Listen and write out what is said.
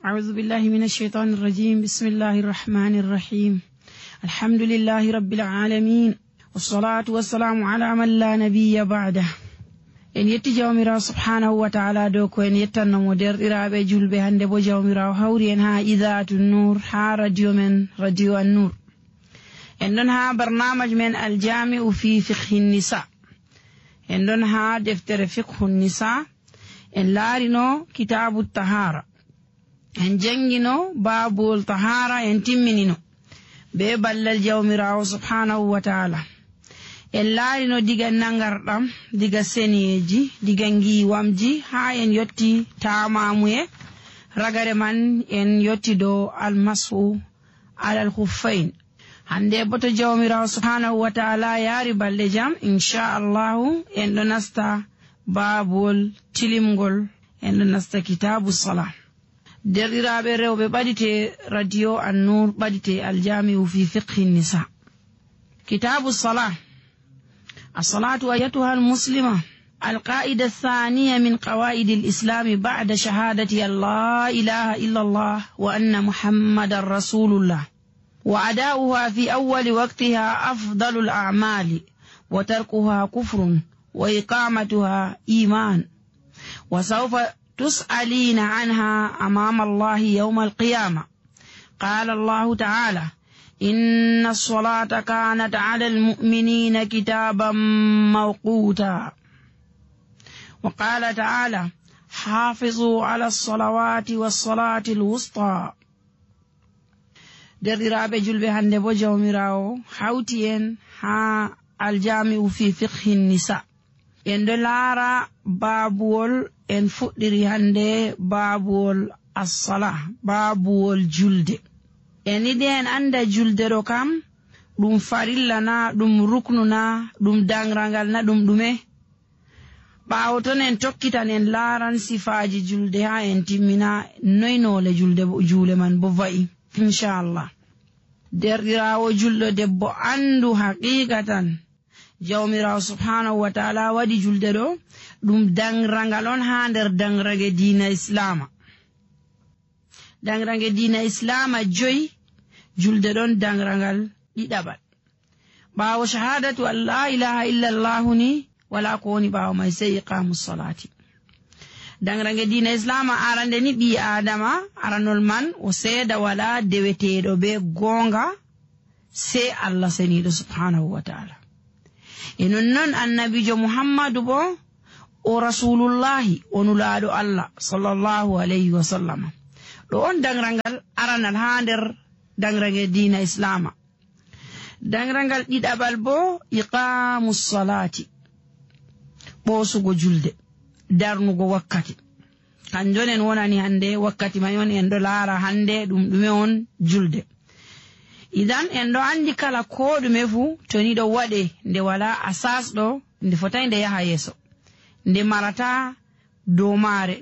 أعوذ بالله من الشيطان الرجيم. بسم الله الرحمن الرحيم. الحمد لله رب العالمين، والصلاة والسلام على من لا نبي بعده. en yetti jawmirawo subhanahu wa ta'ala dow ko en yettannamo derɗiraɓe julɓe hande bo jawmirawo hawri en ha idatu nour ha radio men radio an-nour. en ɗon ha barnamaj men aljami'u fi fiqhi nisa. en ɗon ha deftere fiqhu nisa. en laarino kitabu tahara, en jangino babul tahara, en timminino be ballal jawmirawo subhanahu wa ta'ala. en laarino diga nangarɗam, diga seniyeji, diga ngiwamji ha en yotti tamamuye. ragare man en yotti dow almasu alal khuffain. hande boto jawmirawo subhanahu wa ta'ala yaari balɗe jam, inchallahu en ɗo nasta babol tilimgol, en ɗo nasta kitabu salah. derɗiraɓe rewɓe ɓaɗite radio an-nour, ɓaɗite aljami'u fi fiqhi nisa. kitabu salah. الصلاة أيتها المسلمة القاعدة الثانية من قواعد الإسلام بعد شهادة لا إله إلا الله وأن محمد رسول الله، وأداؤها في أول وقتها أفضل الأعمال، وتركها كفر، وإقامتها إيمان، وسوف تسألين عنها أمام الله يوم القيامة. قال الله تعالى: إن الصلاة كانت على المؤمنين كتابا موقوتا. وقال تعالى: حافظوا على الصلوات والصلاة الوسطى. derɗiraɓe julɓe hande bo jawmirawo hawti en ha aljami'u fi fiqhi nisa. en ɗo laara babuwol, en fuɗɗiri hande babuwol as-salah, babuwol julde. en yiɗi en anda julde ɗo kam ɗum farilla na, ɗum ruknu na, ɗum dangrangal na, ɗum ɗume. ɓaawo ton en tokkitan en laaran sifaji julde ha en timmina noynole juule man bo va'i inchallah. derɗirawo julɗo debbo andu haqiqatan jawmirawo subhanahu wa ta'ala waɗi julde ɗo ɗum dangrangal on ha nder dangrage diina islama. dangrange diina islama 5, julde ɗon dangrangal ɗiɗaɓal. ɓaawo shahadatu an la ilaha illa llahu ni wala ko woni ɓaawo mai sey iqamu salati. dangrange diina islama arande ni ɓi adama aranol man o seeda wala deweteɗo be gonga sey Allah seniɗo subhanahu wa ta'ala. e nonnon annabijo muhammadu bo o rasulullahi o nulaɗo Allah sallallahu alayhi wa sallam. ɗo on dangrangal aranal ha nder dangrange diina islama. dangrangal ɗiɗaɓal bo iqamu salati, ɓoosugo julde, darnugo wakkati. kanjon en wonani hande wakkati may on en ɗo laara hande ɗum ɗume on julde. idan en ɗo andi kala ko ɗume fu to ni ɗo waɗe nde wala asas ɗo nde fotai nde yaha yeso, nde marata dow maare.